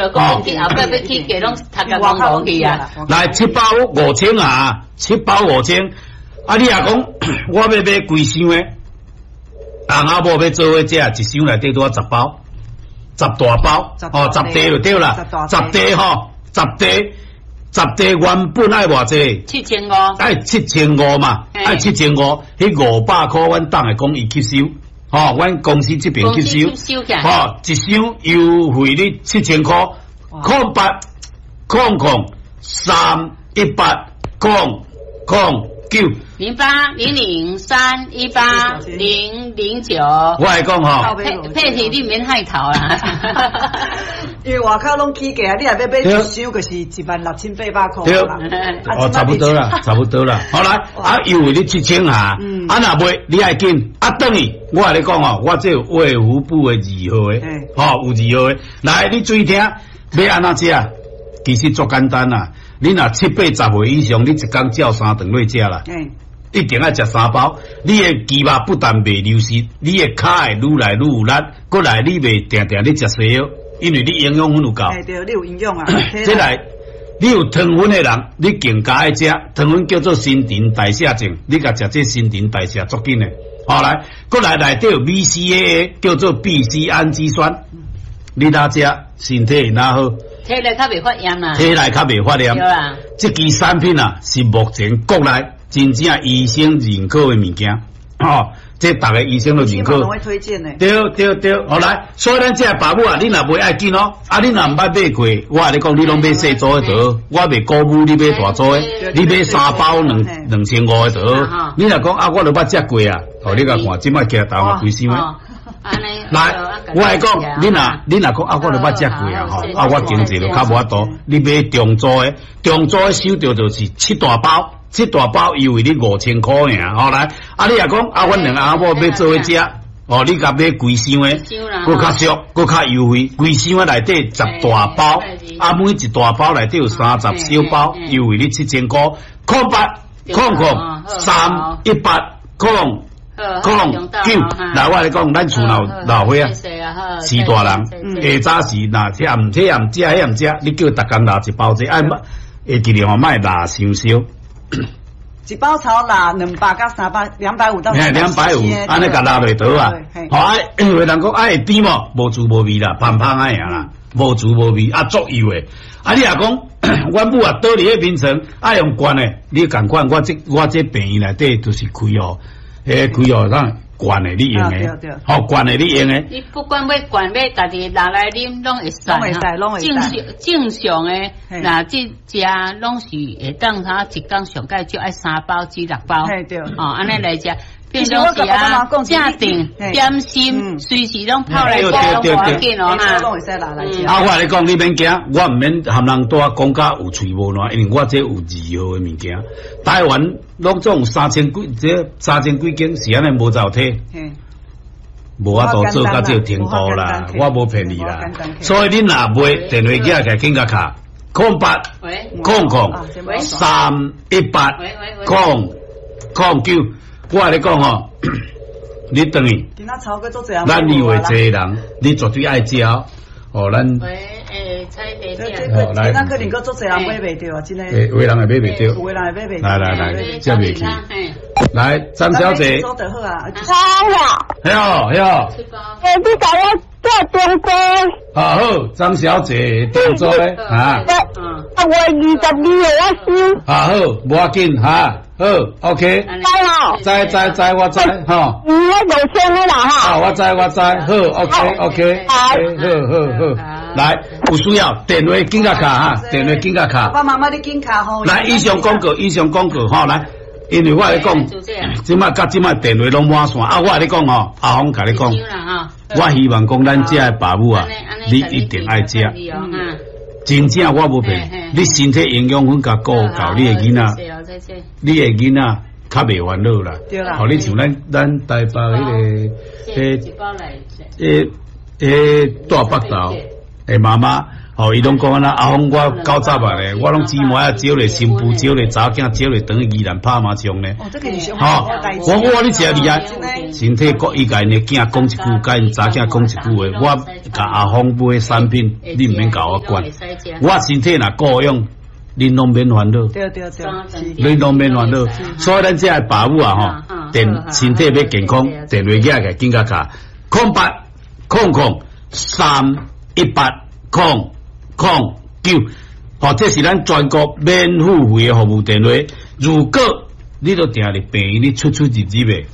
落講去後擺欲起價，攏讀甲戇戇去啊！來七包五千啊，七包五千。啊，你若講我欲買規箱的，翁仔某欲做伙食，一箱內底拄仔10包，10大包，哦，10袋就對啦，十袋吼，十袋，十袋原本愛偌濟？7500。愛七千五嘛，愛七千五，彼500箍阮當會講伊吸收，吼，阮公司這邊吸收，吼，一箱優惠你7000箍，0800 318 009。0800318009。我來講吼，佩佩你免害頭啦，因為外口攏起價，你若欲買一箱，就是16,800箍啦。哦，差不多啦，差不多啦。好來，啊，優惠你七千下，啊，若袂你愛緊，啊，轉去，我共你講吼，我這有衛福部的二號的，吼，有二號的，來，你注意聽，欲按怎食？其實足簡單啦，你若七八十歲以上，你一工照三頓落食啦。一定愛食三包，你的肌肉不但袂流失，你的跤會愈來愈有力，閣來你袂定定咧食西藥，因為你營養分有夠。對，你有營養啊。這來，你有糖分的人，你更加愛食糖分叫做新陳代謝症，你共食這新陳代謝足緊的。好來，閣來內底有 BCAA 叫做 B C 氨基酸，你若食身體會若好？體內較袂發炎啊。體內較袂發炎。對啊。這支產品啊，是目前國內真正醫生認可的物件，吼，這逐个醫生都認可。推薦的。對對對，好來，所以咱這个爸母啊，你若袂愛緊哦，啊，你若毋捌買過，我共你講，你攏買細組的就好，我袂鼓舞你買大組的，你買三包2500的就好。你若講啊，我都捌食過啊，哦，你共看，這擺寄台灣規箱的。來，我來講，你若講啊，我都捌食過啊，吼，啊，我經濟就較無法度，你買中組的，中組的收著就是七大包。七大包優惠你5000箍爾，好來，啊你若講啊，阮兩翁仔某欲做伙食，哦，你共買規箱的，閣較俗，閣較優惠，規箱的內底10大包，啊每一大包內底有30小包，優惠你7000箍，0800 318 009，來我共你講，咱厝內有老歲仔，序大人，下早時若這毋這毋食，彼毋食，你叫逐工拿一包這，愛會記得吼，莫抐傷燒。一包炒抐200到300，250到。250，按呢共抐落倒啊。好啊，因為人講啊會甜無？無滋無味啦，芳芳仔爾啦，無滋無味啊，足油的。啊，你若講，阮母啊，倒佇彼眠床，愛用灌的，你仝款，我這病院內底就是開哦，彼開哦，咱灌的你用的，好灌的你用的。你不管欲灌欲家己拿來啉，攏會使。正常正常的，若這食攏是會當啥一工上蓋就愛三包至六包。哦，按呢來食。平常時啊，正定點心，隨時攏泡來食，攏無要緊哦哈。啊，我共你講，你免驚，我毋免含人帶講甲有喙無爛，因為我這有二號的物件。台灣攏總有三千幾，這三千幾間是按呢無走體，無法度做到這個程度啦，我無騙你啦。所以你若買電話機來緊共敲，0800 318 009。我共你講吼，你轉去，咱以為濟人，你絕對愛食哦。咱喂，欸，蔡姐哦，來，那可能閣足濟人買袂著啊，真的。欸，有的人會買袂著。有的人會買袂著。來來來，接袂去。來，張小姐。好啊。嘿哦，嘿哦。欸，你共我做中組。啊好，張小姐中組的啊。啊，月22號我收。啊好，無要緊哈，好，OK。知吼。知知知，我知吼。嗯，我5000的啦哈。啊，我知我知，好，OK OK。好，好好好。來，有需要電話緊共敲哈，電話緊共敲。爸爸媽媽你緊敲吼。來，以上廣告，以上廣告吼，來，因為我共你講，這擺佮這擺電話攏滿線啊，我共你講吼，阿峰共你講，我希望講咱遮的爸母啊，你一定愛食。真正我無騙，你身體營養分共顧夠，你的囡仔，你的囡仔較袂煩惱啦。好，你像咱台北彼個，彼彼大北投的媽媽，哦，伊攏講啊，阿峰我90啊咧，我攏姊妹啊招咧新婦，招咧查某囝，招咧轉去宜蘭拍麻將咧。哦，這個是上吼，我你真厲害，身體國伊共𪜶的囝講一句，共𪜶查囝講一句話，我共阿峰買產品，你毋免共我管。我身體若顧用，恁攏免煩惱。對對對，恁攏免煩惱。所以咱這个爸母啊，吼，電身體欲健康，電話寄來緊甲敲0800 318 009，吼，這是咱全國免付費的服務電話。如果你都定佇病院，你出出入入的，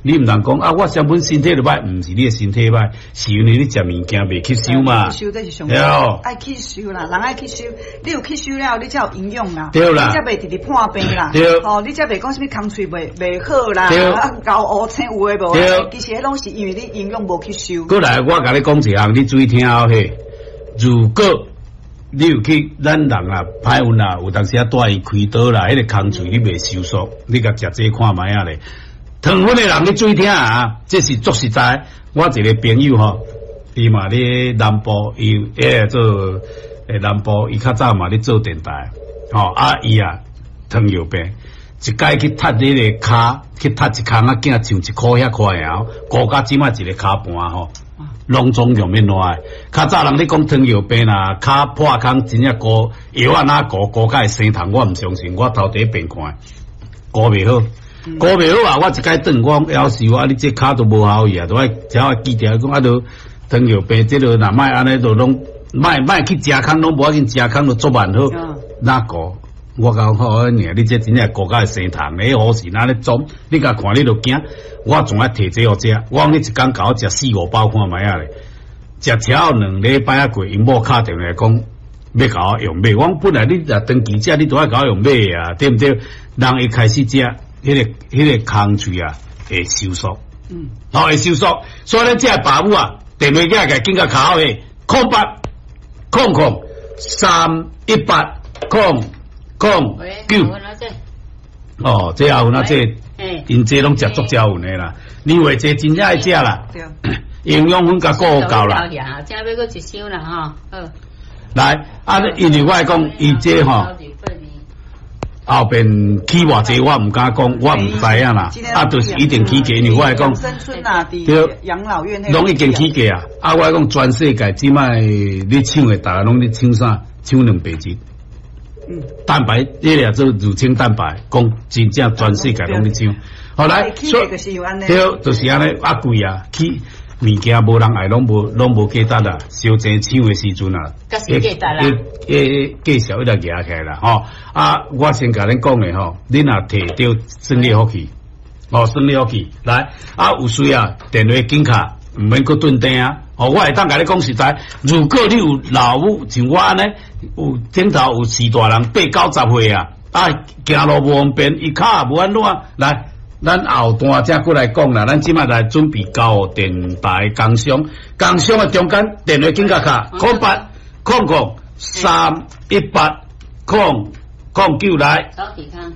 你毋通講啊！我原本身體就歹，毋是你的身體歹，是因為你食物件袂吸收嘛。吸收這是上愛吸收啦，人愛吸收，你有吸收了，你才有營養啦。對啦，你才袂直直破病啦。對，吼，你才袂講啥物空喙袂好啦，啊，喉烏青有的無？對，其實彼攏是因為你營養無吸收。過來，我共你講一項，你注意聽好嘿。如果你有去咱人啊，歹運啊，有當時啊，帶伊開刀啦，彼個空喙你袂收縮，你共食這看覓仔咧。糖分的人，你注意聽啊！這是足實在。我一個朋友吼，伊嘛咧南部，伊做南部，伊較早嘛咧做電台，吼啊伊啊糖尿病，一擺去踢彼個跤，去踢一空仔囝像一箍遐塊爾，顧甲這擺一个跤盤吼，攏總用免爛。較早人咧講糖尿病啦，跤破空真正高，藥仔哪糊糊甲會生蟲，我毋相信，我頭第一遍看，顧袂好。顧袂好啊！我一擺轉，我講夭壽啊！你這跤都無效去啊，都愛只愛記著講啊，都糖尿病這个若莫按呢，就攏莫莫去食空，攏無要緊，食空就足慢好。哪顧？我講好爾，你這真正顧甲會生蟲，彼護士若咧裝，你共看你就驚。我總愛提這予食，我講你一工共我食四五包看覓仔咧，食超2禮拜仔過，𪜶某敲電話講欲共我用買。我講本來你若長期食，你都愛共我用買啊，對毋對？人一開始食。彼個空喙啊，會收縮，好會收縮，所以咱這个爸母啊，電話寄來緊共敲的，0800 318 009。哦，這阿有啊，這𪜶這攏食足食有的啦，你話這真正愛食啦，營養分共顧夠啦。正欲閣一箱啦，吼，好。來，啊，因為我會講，伊這吼。後邊起偌濟，我毋敢講，我毋知影啦。啊，就是一定起價，因為我會講，對，養老院攏已經起價啊！啊，我講全世界這擺咧搶的，逐家攏咧搶啥？搶蛋白質。蛋白，彼個做乳清蛋白，講真正全世界攏咧搶。後來，對，就是按呢，啊貴啊，起。物件無人愛，攏無價值啦。燒錢搶的時陣啊，價數一直壓起來啦，吼。啊，我先共恁講的吼，恁若提著算你福氣，哦，算你福氣。來，啊，有需要電話緊敲，毋免閣頓電啊。哦，我會當共你講實在，如果你有老母像我按呢，有頂頭有序大人八九十歲啊，啊，行路無方便，伊跤也無按怎來。咱後段才過來講啦，咱這擺來準備交電台工商，工商的中間電話緊共敲0800 318 009來。走健康。